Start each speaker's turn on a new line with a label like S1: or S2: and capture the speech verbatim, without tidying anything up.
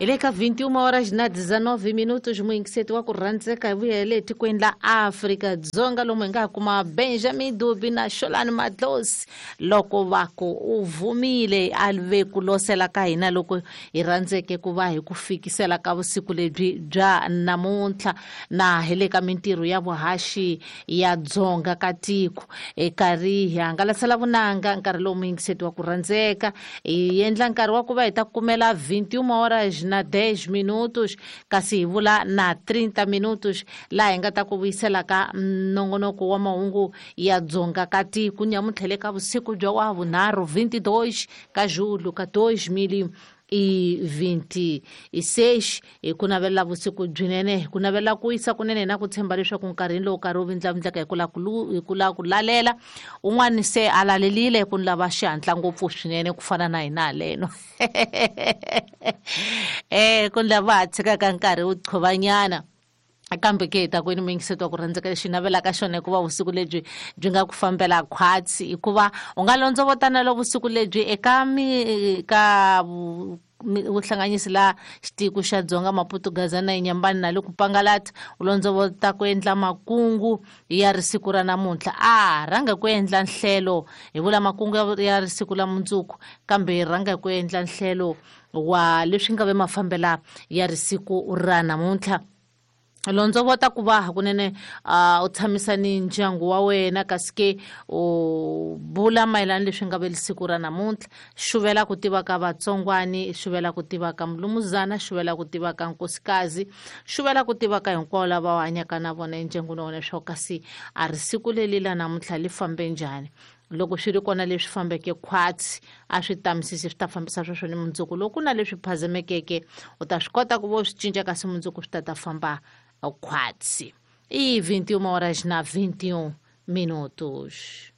S1: Hi le ka vinte e uma horas na dezenove minutos, muyingiseti wa ku rhandzeka, hi vuyele etikweni la Afrika-Dzonga lomu hi nga kuma Benjamin Dubi na Xolani Madlosi loko va ku u vumile a ve ku losela ka hina loko hi rhandzeke ku va hi ku fikisela ka vusiku lebyi bya namuntlha na hi le ka mintirho ya vuhaxi ya dzonga ka tiko hi karhi hi hangalasela vunanga. Nkarhi lowu, muyingiseti wa ku rhandzeka, hi endla nkarhi wa ku va hi ta kumela vinte e uma horas na dez minutos, kasi hi vula na trinta minutos, laha hi nga ta ku vuyisela ka nongonoko wa mahungu ya dzonga ka tiko nyamuntlha le ka vusiku bya wa vunharhu, vinte e dois ka julho ka dois mil e vinte e seis. Hi ku navelela vusiku byinene, hi ku navelela ku wisa kunene, na ku tshemba leswaku nkarhini lowu karhi wu vindlavindlaka hi ku la ku hi ku lava ku lalela, un'wani se a lalelile ku ni lava xihatla ngopfu swinene ku fana na hina haleno, eh ku ni lava ha tshikaka nkarhi wu qhovanyana. Kambe ke hi ta kwini, muyingiseti wa ku rhandzeka, lexi navelaka xona hikuva vusiku lebyi byi nga ku fambela khwatsi, hikuva u nga londzovotana vusiku lebyi eka mi ka vuhlanganisi la xitiko xa Dzonga, Maputo, Gaza na Inyambani na le ku Pangalata, u londzovota ku endla makungu ya risiku ra namuntlha. A rhanga ku endla nhlelo, hi vula makungu ya risiku la mundzuku, kambe hi rhanga ku endla nhlelo wa leswi nga ve mafambela ya risiku ra namuntlha. Londzovota ku va hakunene uh, u tshamisa ni ndyangu wa wena, kasi ke u bula mayelana leswi nga ve siku ra namuntlha. Xuvela ku tiva ka vatsongwani, xuvela ku tiva ka mulumuzana, xuvela ku tiva ka nkosikazi, xuvela ku tiva ka hinkwavo lava u hanyaka na vona endyangwini wa wena, leswaku kasi a ri siku leli la namuntlha li fambe njhani. Loko swi ri kona leswi fambeke khwatsi, a swi tamisisi, swi ta fambisa sweswo ni mundzuku. Loko ku na leswi phazamekeke, u ta swi kota ku va u swi cinca, kasi mundzuku swi ta ta famba khwatsi. I vinte e uma horas na vinte e um minutos.